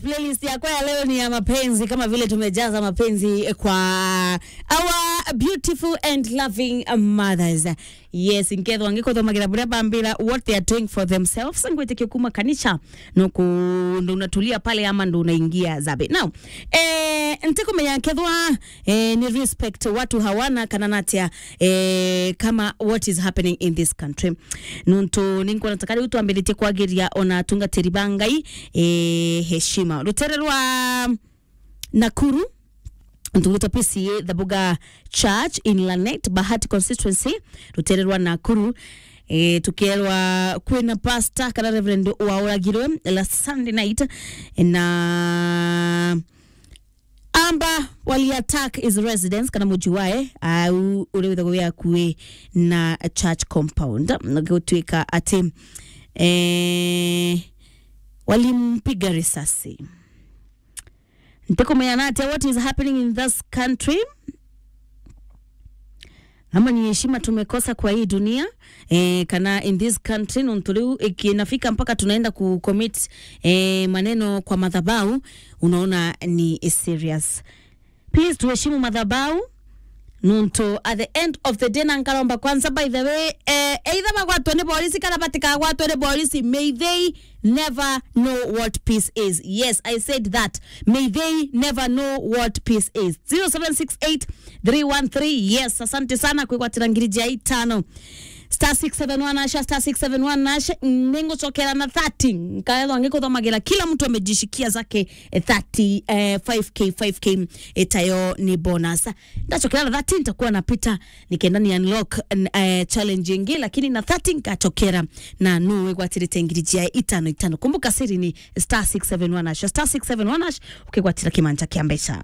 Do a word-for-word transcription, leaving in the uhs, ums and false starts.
Playlist yakwa ya leo ni ya mapenzi, kama vile tumejaza mapenzi kwa our beautiful and loving mothers. Yes, nkethwa ngikuthomagira buria bambira what they are doing for themselves, ngwitikia kuma kanisa, no ku-, ndo unatulia pale ama ndo unaingia zabe. Now, eh, ntikumenya nkethwa, eh, ni respect watu hawana kana natia, eh, kama what is happening in this country. Nontu ninkwona ta kari u twambiritie kwagiria ona atungatiri ba Ngai, eh, heshima. Rutere rwa Nakuru, ntuguta P C A Thabuga Church in Lanet, Bahati constituency, rutere rwa Nakuru. Eh, tukerwa kwina pastor kana reverend wauragirwe last Sunday night, na amba wali attack his residence kana muji wae, au uria withagwo wi akui na church compound, na gutwika ati, eh, walimpiga risasi. Ntikumenya na atia what is happening in this country. Ama ni heshima tumekosa kwa hii dunia, eh, kana in this country, nontu riu ikinafika mpaka tunaenda ku commit, eh, maneno kwa madhabahu, unaona ni serious. Please, tuheshimu madhabahu. Nontu at the end of the day, na nkaromba kwanza, by the way, eh, either bagwatwe ni polisi kana batikagwatwe ni polisi, may they never know what peace is. Yes, I said that. May they never know what peace is. Zero seven six eight three one three. Yes, asante sana kwigwatira ngiri jia itano. Star six seven one hash, star six seven one hash. Ningucokera na thirty. Nkaethwa ngikuthomagira kila mtu amejishikia zake, eh, thirty, eh, five K, five K, itayo ni bonus. Ndachokera na thirty, nitakuwa napita nikenda ni unlock, n-, eh, challenge ingi, lakini na thirty nkachokera na nu wigwatirite ngiri jia itano itano. Kumbuka siri ni star six seven one hash, star six seven one hash, ukigwatira kimanja kia mbeca.